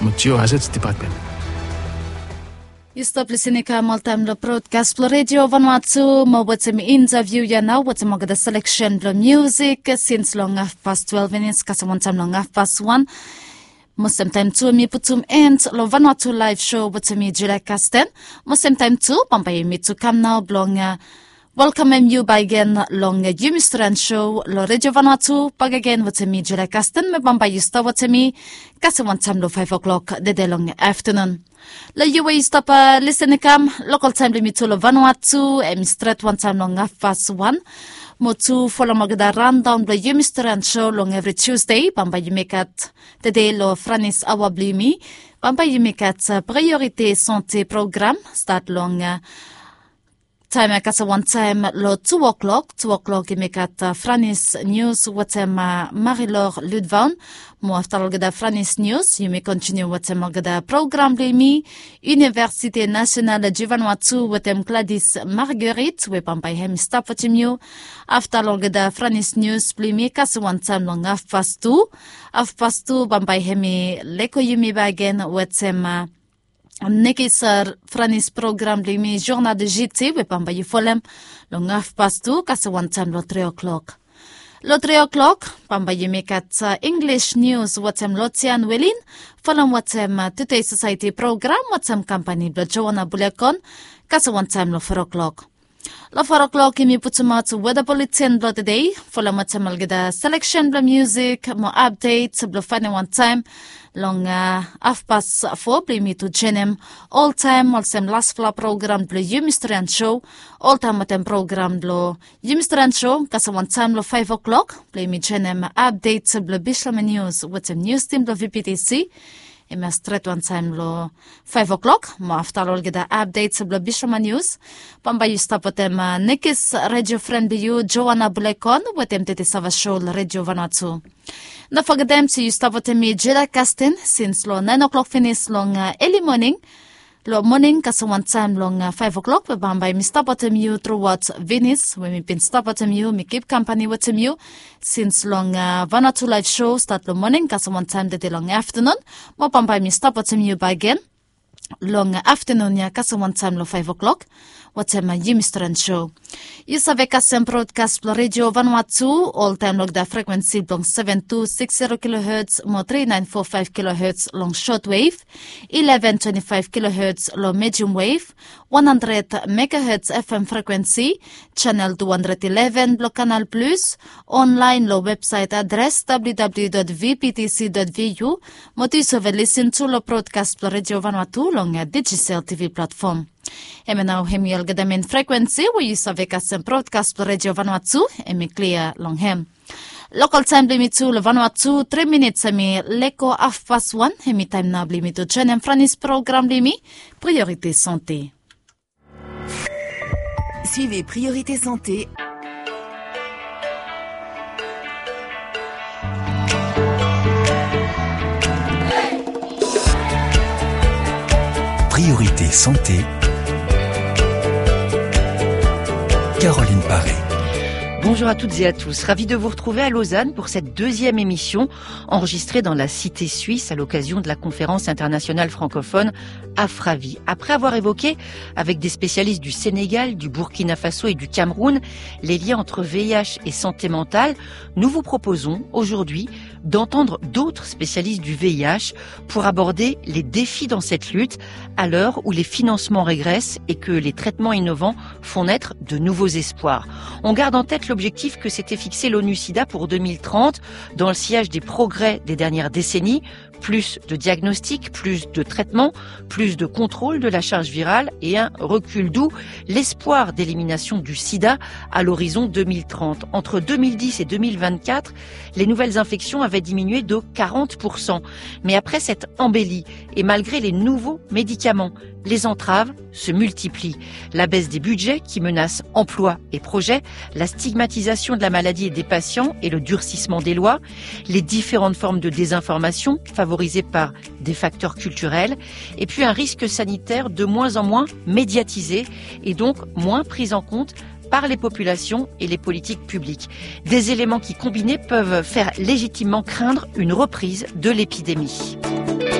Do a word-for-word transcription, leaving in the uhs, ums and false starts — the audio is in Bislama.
mo Geohazards Department. Yu stap lisin i kam oltaem long brodkas blong Redio Vanuatu mo wetem intaviu ya nao wetem olgeta seleksen blong miusik sins long hafpas twelve minits kasem wantaem long hafpas wan. Mo semtaem tu mi putum end long Vanuatu laev sho wetem mi Julia Kasten. Mo semtaem tu bambae yumi tu kam nao blong welkamem yu bakegen long yumi stren sho long Redio Vanuatu bakegen wetem mi Julia Kasten. Me bambae yu stap wetem mi kasem wantaem long faef o'klok dede long aftenun. Long yu we yu stap lisin i kam, lokal taem blong yumi tu long Vanuatu hem i stret wantaem long hafpas wan. Mo tu folem olgeta raondaon blong yumi stren sho long evri Tusde bambae yumi gat tede long franis aoa blong yumi. Bambae yumi gat Priorite Sante program stat long taem ya kasem wantaem long tu o'klok. Tu o'klok yumi gat franis nius wetem Marilor Ludvaon. Mo afta long olgeta franis nius yumi kontiniu wetem olgeta program blong yumi. Universite Nasional Juvanuatu wetem Gladis Marguerite we bambae hem i stap wetem yu. Afta long olgeta franis nius blong yumi kasem wantaem long hafpas tu. Hafpas tu bambae hem i lego yumi bakegen wetem nekis franis program blong yumi Journal de J T we bambae yu folem long hafpas tu kasem wantaem long tri o'klok. Long tri o'klok bambae yumi gat Inglis nius wetem Lotian Welin folem wetem Tude Sosaeti program wetem kampani blong Joana Bulekon kasem wantaem long for o'klok. Long for o'klok yumi putumaot weda buletin blong tede folem wetem olgeta seleksen blong miusik mo apdet blong faenem wantaem long hafpas fo blong yumi tu joenem oltaem olsem lasfala program blong yumi stren sho. Oltaem wetem program blong yumi stren sho kasem wantaem long faef o'klok blong yumi joenem apdet blong Bislama Nius wetem nius tim blong V P T C. Hem ya stret wantaem long faef o'klok mo afta long olgeta apdet blong Bislama Nius bambae yu stap wetem nekis redio fren blong yu Joana Bulekon wetem Tete Sava Sho long Redio Vanuatu. No fogetem se yu stap wetem mi Julia Kasten sins long naen o'klok finis long eli moning. Long moning kasem wantaem long faef o'klok we bambae mi stap wetem yu truaot Venis we mi bin stap wetem yu mi kip kampani wetem yu sins long Vanuatu laev sho stat long moning kasem wantaem tede long aftenun. Mo bambae mi stap wetem yu bakegen long aftenun ya kasem wantaem long faef o'klok wetem yumi stren sho. Yu save kasem brodkas blong Redio Vanuatu oltaem long olgeta frekuensi blong seven two six zero kilohertz mo three nine four five kilohertz long shotwave, eleven twenty five kilohertz long medium wave, one hundred megahertz F M frekuensi, chanel two hundred eleven blong Kanal Plus, onlaen long websaet adres W W W dot V P T C dot V U, mo tu yu save lisin tu long brodkas blong Redio Vanuatu long Digicel T V platfom. Hemia nao hem i olgeta men frekuensi we yu save kasem brodkas blong Redio Vanuatu hem i klia long hem. Lokal taem blong yumi tu long Vanuatu tri minits hem i lego hafpas wan. Hem i taem nao blong yumi tu joenem franis program blong yumi Priorite Sante. Suivez Priorité Santé. Priorité Santé. Caroline Paré. Bonjour à toutes et à tous. Ravi de vous retrouver à Lausanne pour cette deuxième émission enregistrée dans la cité suisse à l'occasion de la conférence internationale francophone Afravi. Après avoir évoqué avec des spécialistes du Sénégal, du Burkina Faso et du Cameroun les liens entre V I H et santé mentale, nous vous proposons aujourd'hui d'entendre d'autres spécialistes du V I H pour aborder les défis dans cette lutte à l'heure où les financements régressent et que les traitements innovants font naître de nouveaux espoirs. On garde en tête l'objectif que s'était fixé l'ONU SIDA pour deux mille trente dans le sillage des progrès des dernières décennies, plus de diagnostics, plus de traitements, plus de contrôle de la charge virale et un recul, d'où l'espoir d'élimination du sida à l'horizon deux mille trente. Entre deux mille dix et deux mille vingt-quatre, les nouvelles infections avaient diminué de quarante pour cent. Mais après cette embellie, et malgré les nouveaux médicaments, les entraves se multiplient. La baisse des budgets qui menace emplois et projets, la stigmatisation de la maladie et des patients et le durcissement des lois, les différentes formes de désinformation favorisées par des facteurs culturels, et puis un risque sanitaire de moins en moins médiatisé et donc moins pris en compte par les populations et les politiques publiques. Des éléments qui, combinés, peuvent faire légitimement craindre une reprise de l'épidémie.